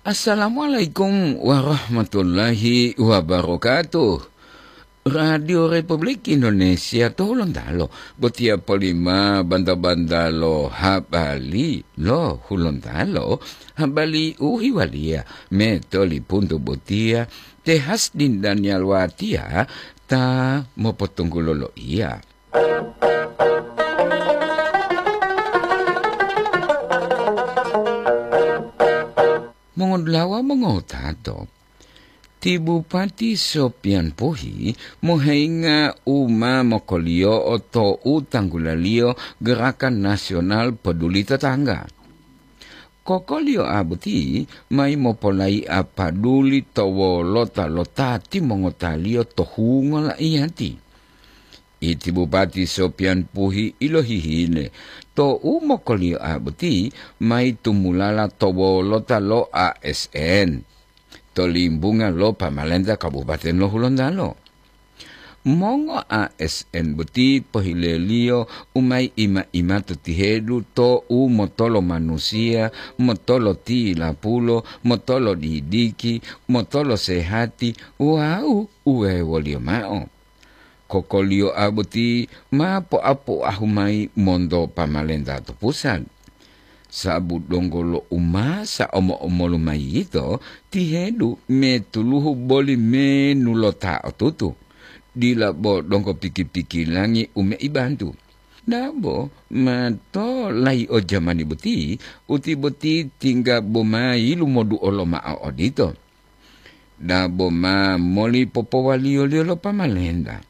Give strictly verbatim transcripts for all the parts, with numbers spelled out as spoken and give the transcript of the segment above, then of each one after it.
Assalamualaikum warahmatullahi wabarakatuh. Radio Republik Indonesia to Hulontalo, botiya polima banta-banta lo habari lo Hulontalo, habari u hiwaliya metoli puntu botiya, te Hasdin Daniel Watiya ta mopotunggulo loiya. Mongodulawa mongotato, ti Bupati Sopian Puhi moheinga u ma mokoliyo'o to u tanggulaliyo Gerakan Nasional Peduli Tetangga. Kokoliyo'a boti mayi mopolai'a paduli to wolota lo ta timongotaliyo to hungo laiyati. Iti Bupati Sopian Puhi ilohihile to u mokoliyo'a boti mayi tumulala to wolota lo A S N to limbunga lo pamalenta Kabupaten lo Hulontalo. Mongo A S N boti pohileliyo u mayi ima-ima to tihedu to u motolo manusiya, motolo tilapulo, motolo didiki, motolo sehati wawu uwewoliyo mao. Kokoliyo'a boti ma poapoahu mayi monto pamalenta to pusat. Sabu donggo lo umasa omo-omolu mayi yito, tihedu metuluhu boli menu lo ta otutu, dila bo donggo piki-pikilangi u meibantu. Dabo ma to layi o jamani boti, uti boti tingga bo ma yilumoduo lomao odito. Dabo ma moli popowaliyo-liyo lo pamalenta.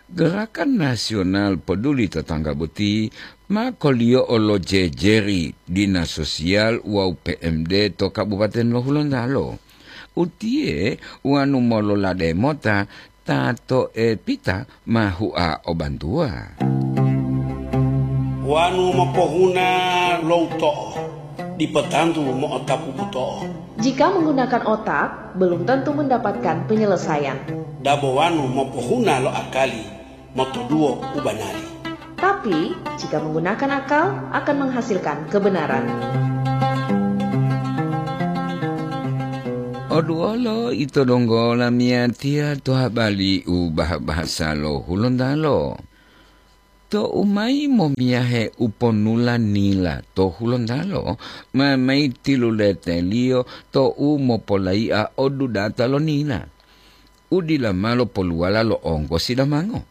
Gerakan Nasional Peduli Tetangga boti ma koliyo'o lo jejeri Dinas Sosial wawu P M D to Kabupaten lo Hulontalo. Utiye wanu mololade mota ta to'epita ma hua o bantuwa. Wanu mopohuna lo uto'o, dipo tantu mo'otapu buto'o. Jika menggunakan otak, belum tentu mendapatkan penyelesaian. Dabo wanu mopohuna lo akali, motoduwo u banari. Tapi, jika menggunakan akal, akan menghasilkan kebenaran. Oduwolo ito donggo lamiyatiya to habari u baha-bahasa lo Hulontalo. Tou mayi momiyahe uponula nila to Hulontalo, ma mayi tiluleteliyo tou mopolai'a o dudata lo nila, u dila ma lopoluwala lo onggosi damango.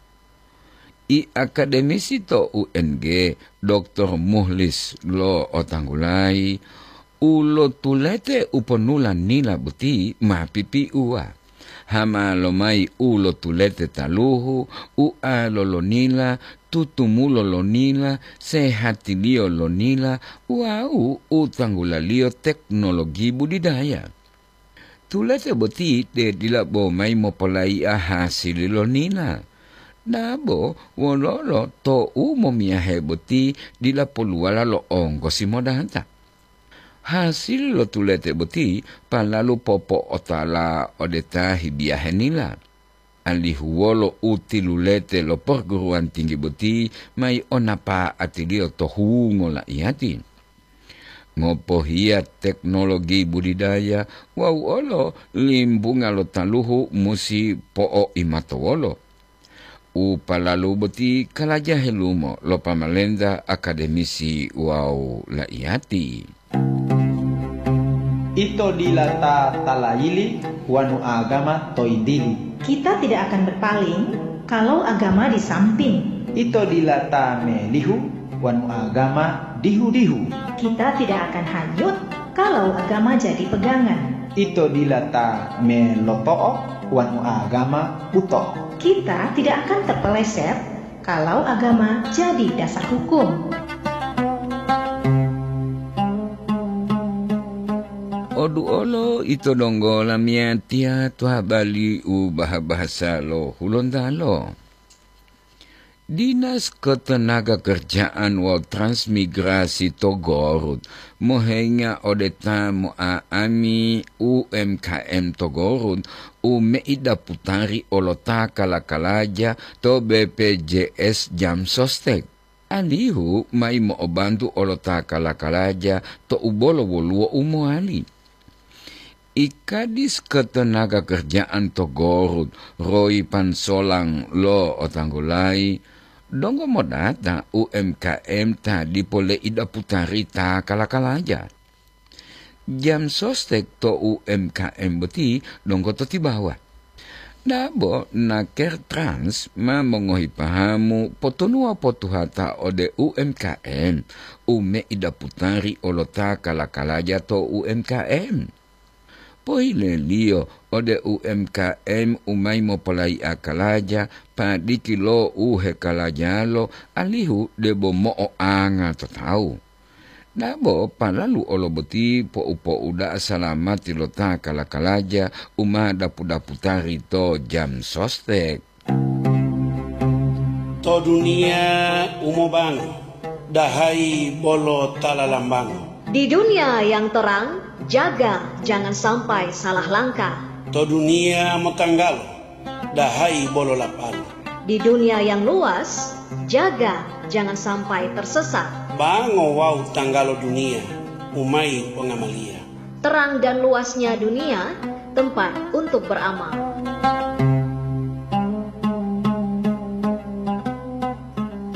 I akademisi to U N G, Doktor Muhlis lo'otanggulayi, u lotulete uponula nila boti ma pipiuwa. Hama lomayi u lotulete taluhu, ualo lo nila, tutumulo lo nila, sehatiliyo lo nila, wawu u tanggulaliyo teknologi budidaya. Tulete boti te dila bo mayi mopolai'a hasili lo nila. Dabo wololo tou momiyahe boti dila poluwala lo onggosi modata. Hasili lo tulete boti palalu popo'otala ode ta hibiyahe nila, alihu wolo u tilulete lo perguruan tinggi boti mayi o napa'atiliyo to hungo la'iyati. Ngopohiya teknologi budidaya wawu olo limbunga lo taluhu musi po'oimatowolo. U palalu boti kalajahe lumo lo pamalenta, akademisi wawu la'iyati. Ito dila ta talayili wanu agama to yintili. Kita tidak akan berpaling kalau agama di samping. Ito dila ta melihu wanu agama dihu-dihu. Kita tidak akan hanyut kalau agama jadi pegangan. Ito dila ta meloto'o wanu agama buto'o. Kita tidak akan terpeleset kalau agama jadi dasar hukum. Oduolo ito donggo lamiyatiya to habari u baha-bahasa lo Hulontalo. Dinas Ketenagakerjaan wawu Transmigrasi to Gorut mohenga ode ta mo'a'ami U M K M to Gorut u meida putari olota kala-kalaja to B P J S Jam Sostek, alihu mayi mo'obantu olota kala-kalaja to u bolo woluwo u mowali. I Kadis Ketenaga Kerjaan to Gorut, Roy Pansolang lo otanggulayi, donggo modata U M K M ta dipo leidaputari ta kala-kalaja. Jam sostek to U M K M boti donggo to tibawa. Dabo naker Trans ma mongohi pahamu potonuwa potuhata ode U M K M, u meidaputari olota kala-kalaja to U M K M. Pohileliyo ode U M K M u mayi mopolayi'a kalaja, padiki lo u hekalajalo, alihu debo mo'oanga to tawu. Dabo palalu olo boti pou-pouda'a salamati lo ta kala-kalaja u ma dapu-daputari to jam sostek. To duniya u mobango, dahayi bolo ta lalambango. Di dunia yang terang, jaga jangan sampai salah langkah. To duniya motanggalo, dahayi bolo lapalo. Di dunia yang luas, jaga jangan sampai tersesat. Bango wawu tanggalo duniya, u mayi pongamaliya. Terang dan luasnya dunia, tempat untuk beramal.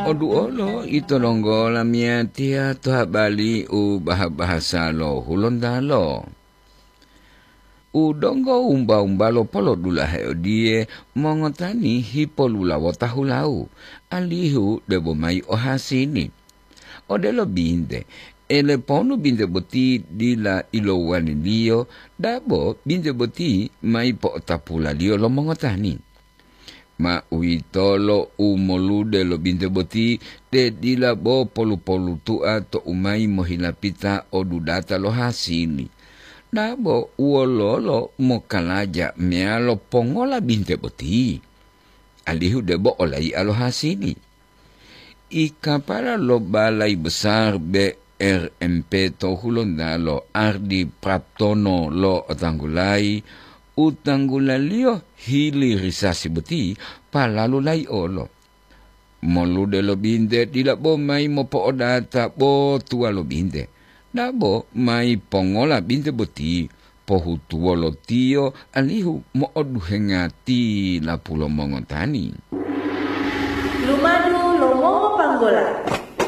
Oduolo ito donggo lamiyatiya to habali u baha-bahasa lo Hulontalo. U donggo wumba-wumbalo polodulahe odiye, mongotani hipolulawota hulau, alihu debo mayi ohasini. Odelo binte, eleponu binte boti dila ilowaliliyo, dabo binte boti mayi po'otapulaliyo lo mongotani. Ma uwitolo u molude lo binte boti, te dila bo polu-polutua to u mayi mohilapita o dudata lo hasili. Dabo wololo mokalaja meyalo pongola binte boti, alihu debo olai'a lo hasili. I kapala lo Balai Besar B R M P to Hulontalo, Ardi Praptono lo otanggulayi, u tanggulaliyo hili risasi boti palalu laiolo. Molude lo binte dila bo mayi mopo'odata bo tuwa lo binte, dabo mayi pongola binte boti, pohutuwolo tiyo alihu mo'oduhenga tilapu lo mongotani. Lumadu lo mongopanggola.